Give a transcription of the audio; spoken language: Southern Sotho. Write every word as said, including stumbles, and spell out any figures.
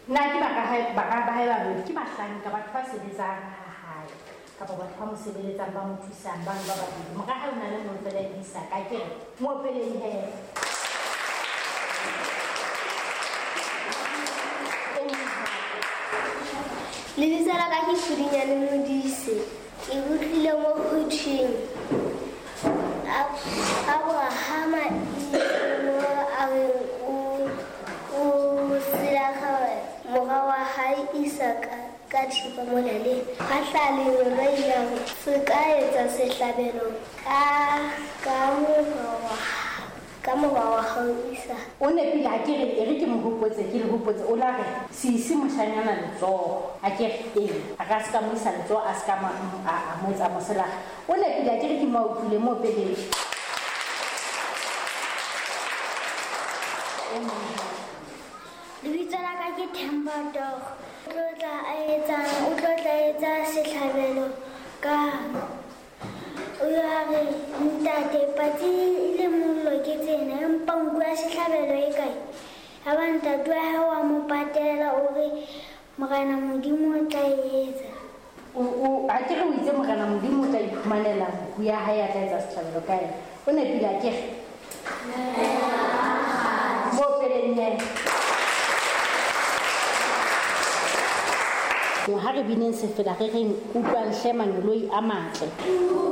Nna ke bara hae bara ba hae ba babedi ke bahlanka batho ba sebetsang ha hae kapa batho ba mo sebeletsang ba mo thusang ba ba babedi. Mora hae o na le mong fela e Isaka ke re mo opeleng he. Lebitso la ka ke Pudinyane Modise. Ke utlwile mo ho thweng Abrahama mo a reng o o selakga mora wa hae Isaka ka thipa molaleng. Ha hlaha lengeloi la re, se ka etsa sehlabelo ka ka mora wa ka mora wa hao Isaka. O nepile ha ke re e re ke mo hopotse ke le hopotse o la re se ise moshanyana letsoho a ke re ee a ka se ka mo isa letsoho a se ka ma a a mo etsa moselakga. O nepile ha ke re ke mo utlwile mo opeleng. Lebitso la ka ke Themba Toro. O tlo tla a etsa o tlo tla etsa sehlabelo ka o a re ntate patsi le mollo ke tsena empa nku ya sehlabelo e kae? Ya ba ntate wa hae wa mo patela o re Morena Modimo o tla e etsa. O o ha ke re o itse Morena Modimo o tla iphumanela nku ya hae a tla etsa sehlabelo ka yena. O nepile ha ke re? Mo opeleng he. Ha re bineng sefela re reng utlwang hle mangeloi a matle.